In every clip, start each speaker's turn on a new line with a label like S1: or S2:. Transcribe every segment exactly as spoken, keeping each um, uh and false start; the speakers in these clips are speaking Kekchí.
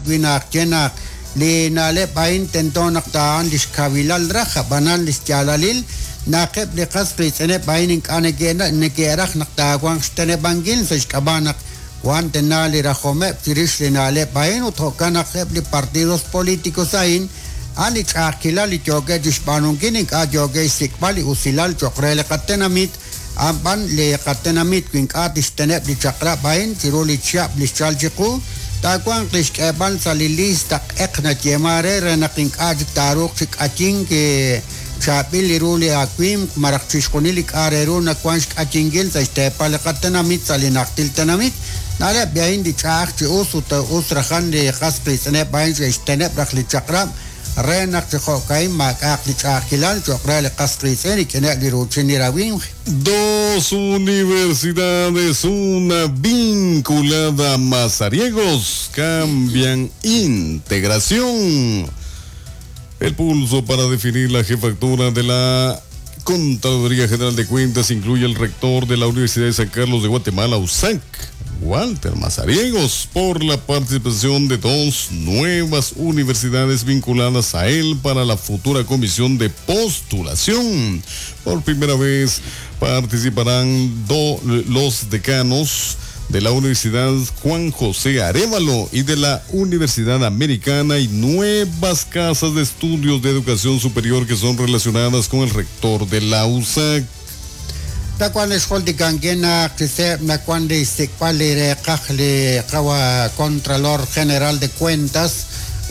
S1: wi' naq ye naq li na'leb' a'in tento naq ta'an li xkawilal raj ab'anan li xyaalalil naq eb' li qas qiitz'ineb' a'in ink'a' neke'raj naq taawanq xteneb'ankil sa' xk'ab'a' naq wan tena li rajomeb' chirix li na'leb' a'in ut jo'kan naq eb' li partidos políticos a'in a'an li ch'a'ajkilal li yookeb' chixb'aanunkil ink'a' yookeb' xsik'b'al li usilal cho'q re li qatenamit a'an li qatenamit wi ink'a' tixteneb' li chaq'rab' a'in chiru li chihab' li xchal chiqu taawanq li xk'eeb'al sa' li lista q'eq nayeema re re naq ink'a' chik taaruuq chi k'ayink chaab'il li ru li awimq maraj chixjunil li k'a' re ru nawank xk'ayinkil sa' xteepal li qatenamit sa' li najtil tenamit na'leb' a'in li ch'a'aj chi us ut us rajan li qas qiitz'ineb' a'in xe'xteneb' raj li chaq'rab' re naq chi jo'ka'in maak'a'aq li ch'a'ajkilal cho'q re li qas qiitz'in rik'ineb' li ruuchin li rawimq.
S2: Dos universidades, una vinculada a Mazariegos, cambian integración. El pulso para definir la jefatura de la Contraloría General de Cuentas incluye el rector de la Universidad de San Carlos de Guatemala, U S A C, Walter Mazariegos, por la participación de dos nuevas universidades vinculadas a él para la futura comisión de postulación. Por primera vez participarán do, los decanos de la Universidad Juan José Arévalo y de la Universidad Americana y nuevas casas de estudios de educación superior que son relacionadas con el rector de la U S A C.
S1: Takuan xjoltikankina qiseb nakuan li xsik'b'al li reqaj li qawa Contralor General de Cuentas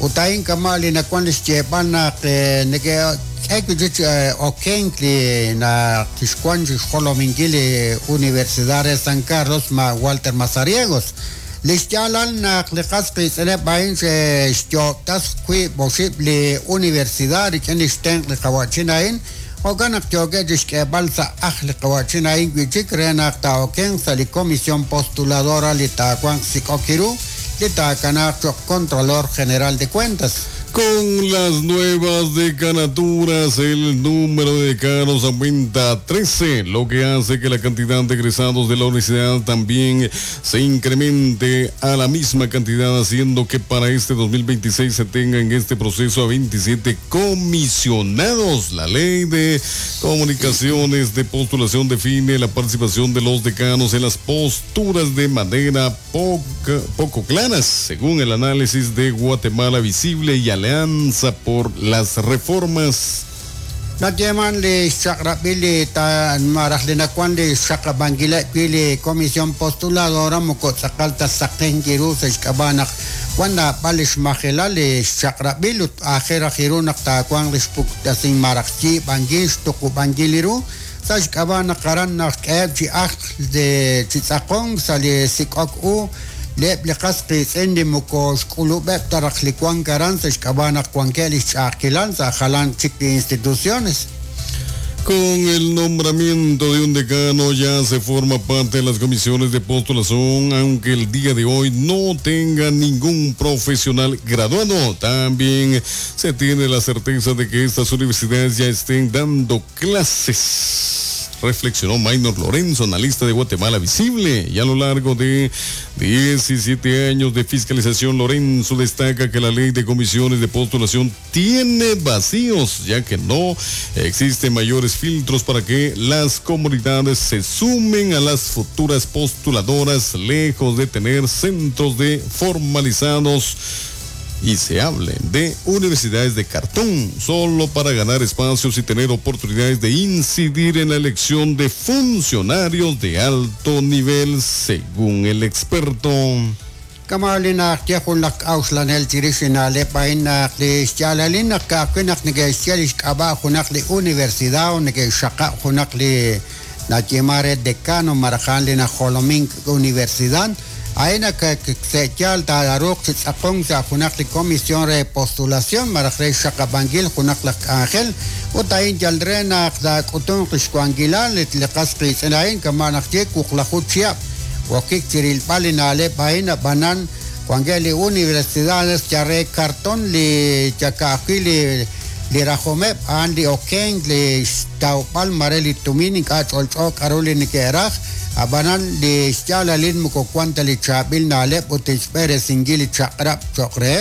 S1: utayin kama li nakuan li xyeeb'al naq neke k'e okenk li na xkuan xjolominkil li Universidad de San Carlos ma Walter Mazariegos li xyaalal naq li qas qiitz'ineb' a'in xyo'tas wiib' oxib' li universidad rik'in li xtenq' li qawa'chin a'in jo'kan naq yookeb' chixk'eeb'al sa' aj li qawa'chin a'in wi'chik re naq taa'okenq sa' li comisión postuladora li taawanq sik'ok iru li taakanaaq cho'q Contralor General de Cuentas.
S2: Con las nuevas decanaturas, el número de decanos aumenta a trece, lo que hace que la cantidad de egresados de la universidad también se incremente a la misma cantidad, haciendo que para este dos mil veintiséis se tenga en este proceso a veintisiete comisionados. La ley de comunicaciones de postulación define la participación de los decanos en las posturas de manera poca, poco claras, según el análisis de Guatemala Visible y Alianza por las Reformas.
S1: Natyeman li xchaq'rab'il li ta maraj li nakuan li xchaq'rab'ankileb' wi' li comisión postuladora moko tz'aqal ta saqen kiru sa' xk'ab'a' naq wan naab'al li xmajelal li xchaq'rab'il ut aajel raj iru naq taawanq li xpuktasin maraj yiib'ankil xtuqub'ankil li ru sa' xk'ab'a' naq aran naq k'eheb' chi ajl de chi tz'aqonk sa' li sik'ok u leb' li qas qiitz'in li moko xk'ulub'eb' ta raj li wank aran sa' xk'ab'a' naq wankeb' li xch'a'ajkilal sa' jalan chik li instituciones.
S2: Con el nombramiento de un decano ya se forma parte de las comisiones de postulación, aunque el día de hoy no tenga ningún profesional graduado. También se tiene la certeza de que estas universidades ya estén dando clases. Reflexionó Maynor Lorenzo, analista de Guatemala Visible, y a lo largo de diecisiete años de fiscalización, Lorenzo destaca que la ley de comisiones de postulación tiene vacíos, ya que no existen mayores filtros para que las comunidades se sumen a las futuras postuladoras, lejos de tener centros de formalizados y se hable de universidades de cartón, solo para ganar espacios y tener oportunidades de incidir en la elección de funcionarios de alto nivel, según el experto.
S1: Kamali naq yajun laj k'a'uxlanel chirix li na'leb' a'in naq li xyaalalil naq ka'ajwi' naq neke'xye li xk'ab'a' junaq li universidad o neke'xxaqab' junaq li nayeema re decano maraj li najolomink universidad a'in naq se'yaal taaruuq chi tz'aqonk sa' junaq li comisión re postulación maraj re xxaqab'ankil junaq laj k'anjel ut a'in yal re naq taak'utunq li xwankilal li qas qiitz'in a'in kama' naq ye wuqlaju chihab' wokik chirilb'al li na'leb' a'in ab'anan wankeb' li universidades ya re cartón li yaka'ajwi' li li rajomeb' a'an li okenk li xtawb'al mare li tumin ink'a' ch'olch'o k'aru li neke'raj ab'anan li xyaalalil moko wan ta li chaab'il na'leb' ut xb'eresinkil li chaq'rab' cho'q reheb'.